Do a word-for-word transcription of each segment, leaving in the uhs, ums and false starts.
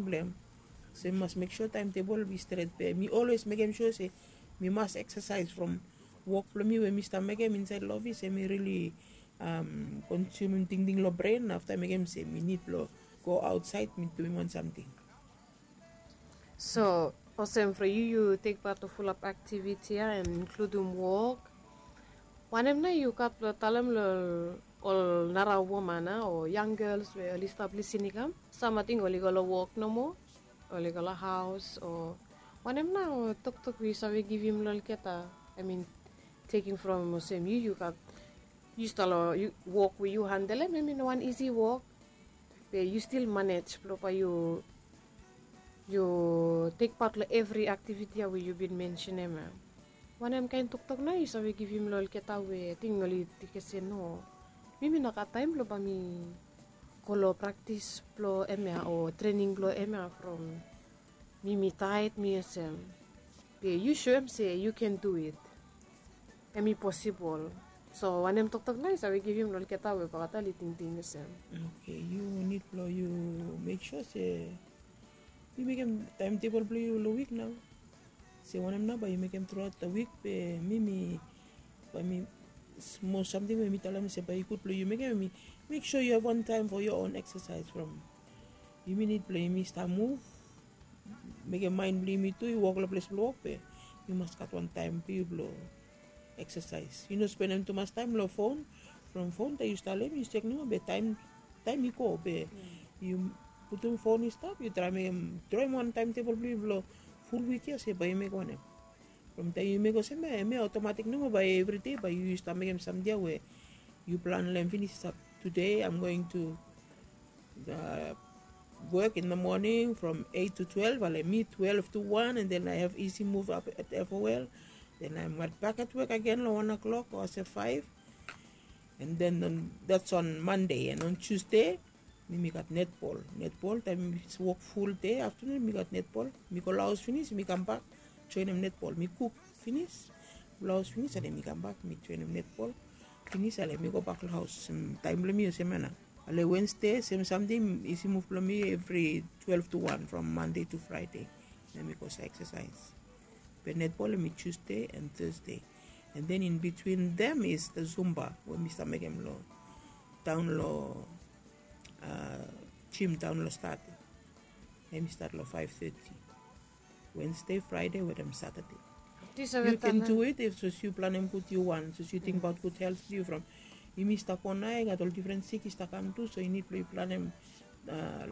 Blong em se mi mas mek sua taem tebol i stret be mi olwes mekem sua se mi mas eksasaes from wok blong mi we mi stap mekem insaed long ofis em i rili konsumim tingting long bren afta mekem se mi nid blong go aotsaed mi duim wan samting. So olsem from yu yu tek pat long fulap aktiviti ya en inkludim wok. Wanem nao yu gat blong talem long ol nara woman a o yang gels we oli stap lisin i kam? Sam ating oli go long wok nomo, oli go long haos o wanem nao toktok we yu save givim long olgeta? I mean, tekim from olsem yu yu gat yu stap long wok we yu handelem em i no wan isi wok. Be yu stil manej blong bae yu yu tek pat long evri aktiviti ya we yu bin mensenem ya. Wanem kaen toktok nao yu save givim long olgeta we ating oli tingting se no, mi mi no gat taem blong bae mi go long praktis blong em ya o trening blong em ya from mi mi taet mi olsem. Be yu soem se yu ken du it. Em i posibol. So wanem toktok nao yu save givim long olgeta we olgeta oli tingting olsem? Oke, yu nid blong yu mek sua se yu mekem taem tebol blong yu long wik nao. Se wanem nao bae yu mekem truaot long wik be mi mi bae mi smol samting we mi talem se bae i gud blong yu mekem em i mek sua yu have wan taem fo yo on eksasaes from yumi nid blong yumi stap muv. Mekem maen blong yumi tu i wok long ples blong wok be yu mas gat wan taem blong yu blong eksasaes. Yu no spenem tumas taem long fon. From fon taem yu stalem yu sek nomo be taem i go be yu putum fon i stap yu traem mekem droem wan taem tebol blong yu blong ful wik ya se bae yu mekem wanem. From taem yu mekem olsem ya em ya otomatik nomo bae evri dei bae yu stap mekem samting ya we yu plan long em finis i stap. Tude aem going tu wok in the moning from eit tu twelef ale mi twelef tu wan and then ae have isi muv ap at efowel. Then aem gat bak at wok agen long wan oklok o olsem faef. And then dats on mande and on tusde mi mi gat netbol. Netbol taem mi wok ful dei aftanun mi gat netbol. Mi go long haos finis mi kambak joenem netbol mi kuk finis. Long haos finis ale mi kambak mi joenem netbol. Finis ale mi gobak long haos. Taem blong mi olsem ya nao. Ale wensde sem samting isi muv blong mi evri twelef tu wan from mande tu fraede. Nao mi go sa eksasaes. Be netbol em i tusde and thusde. And then in bitwin dem is the zumba we mi stap mekem long daon long jim daon long stad. Em i stat long faef teti wensde fraede wetem satade. Yu ken du it if sos yu planem gud yu wan sos yu tingbaot gud helt blong yu from yumi stap go nao i gat ol difren sik i stap kam tu so yu nid blong yu planem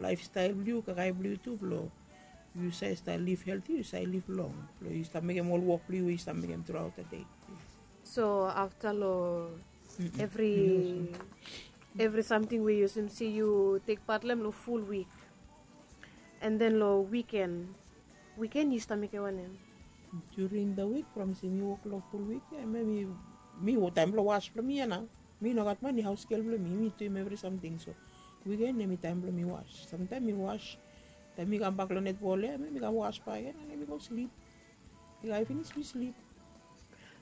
laefstael blong yu kakae blong yu tu blong yu save stap liv helti yu save liv long blong yu stap mekem ol wok blong yu we yu stap mekem truaot da dei. So afta long evri evri samting we yu olsem se yu tek pat long em long ful wik. And then long wiken wiken yu stap mekem wanem? During the week from se mi wok long ful wik ya em ya mi mi taem blong was blong mi ya nao. Mi no gat mani haos gel blong mi mi duim evri samting so wiken em i taem blong mi was. Samtaem mi was taem mi kambak long netbol ya em ya mi kam was bak ya nao mi go slip. Yu gat finis mi slip.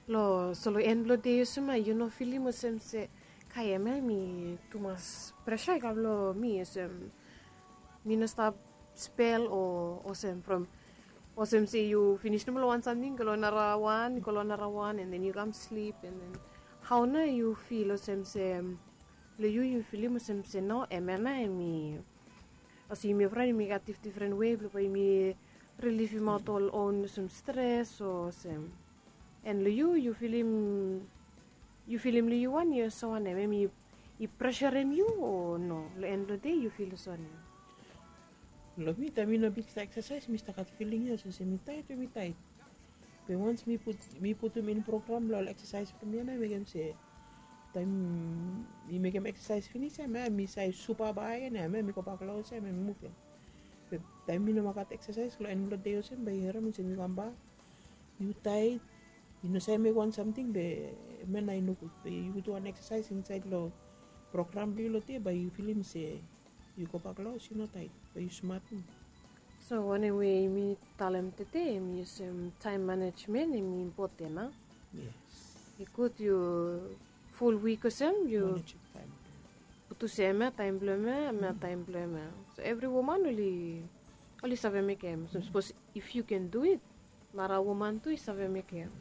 Long so long en blong dei olsem ya yu no filim olsem se kai em ya mi tumas presa i kam long mi olsem mi no stap spel o olsem from olsem se yu finis nomo long wan samting go long nara wan go long nara wan and then yu kam slip and then hao nao yu fil olsem se long yu yu filim olsem se no em ya nao em i olsem yumi fraen yumi gat difdifren wei blong bae yumi rilivimaot ol on olsem stres o olsem. En long yu yu filim yu filim long yu wan yu olsem wanem em i presarem yu o no long en blong dei yu fil olsem wanem? Long mi taem mi no biksa eksasaes mi stap gat filing ya olsem se mi taet we mi taet. Be wans mi putum in program blong ol eksasaes blong mi ya nao i mekem se taem mi mekem eksasaes finis ya em ya mi save supa bak agen ya em ya mi gobak long haos ya em ya mi muvem. Be taem mi no moa gat eksasaes long en blong dei olsem bae yu harem olsem yu kambak yu taet. Yu no save mekem wan samting be em ya nao i nogud be yu du wan eksasaes insaed long program blong yu long dei bae yu filim se yu gobak long haos yu no taet bae yu smat. So wanem we yumi talem tede em i olsem taem manejmen em i impoten a? Yes. I gud yu ful wik olsem yu putum se em ya taem blong em ya em ya taem blong em ya. So evri woman oli Oli save mekem, so sapos if yu ken du it, nara woman tu i save mekem.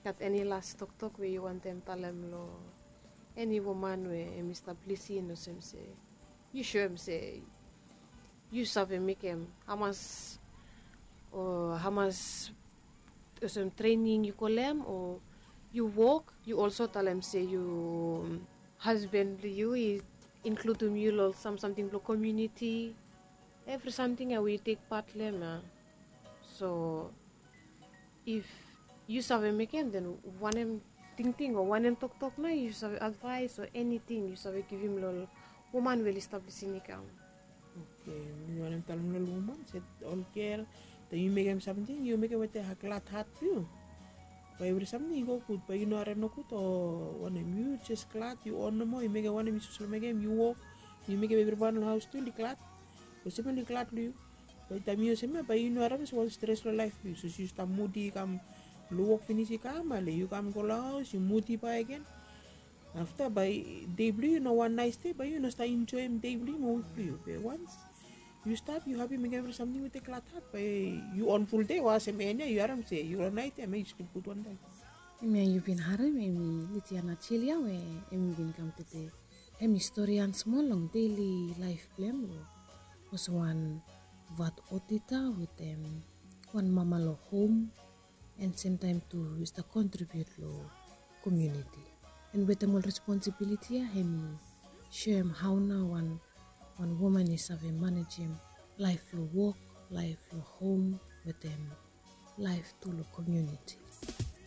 Gat eni las toktok we yu wantem talem long eni woman we em i stap lisin olsem se yu soem se yu save mekem hamas o hamas olsem trening yu kolem o yu wok, yu olso talem se yu hasben blong yu i inkludim yu long sam samting blong komuniti, evri samting ya we yu tek pat long em ya. So if yu save mekem, den wanem tingting o wanem toktok nao yu save advaes o eniting yu save givim long woman we oli stap lisin i kam? Oke, mi wantem talem long ol woman se ol gel, taem yu mekem samting yu mekem wetem glad hat blong yu. Bae evri samting i go gud, bae yu no harem nogud o wanem, yu jes glad, yu on nomo, yu mekem wanem yu sipos long mekem, yu wok, yu mekem evriwan long haos tu oli glad. Olsem oli glad long yu. Bae taem yu olsem ya bae yu no harem olsem wan stres long laef blong yu, sapos yu stap mudi i kam long wok finis i kam ale yu kam go long haos yu mudi bakegen. Afta bae dei blong yu no wan naes dei, bae yu no stap enjoem dei blong yu mo wik blong yu. Be wans yu stap yu hapi mekem evri samting wetem glad hat, bae yu on ful dei o olsem en ya yu harem se yu long naet ya, em ya yu slip gud wantaem. Em ya yu bin harem em i Litiana Jilia we em i bin kam tede. Em i stori han smol long deli laef blong em long olsem wan vat otita wetem wan mama long hom, en semtaem tu i stap kontribiut long komuniti. En wetem ol responsibiliti ya em i soem hao nao wan wan woman i save manejem laef long wok, laef long hom, wetem laef tu long komuniti.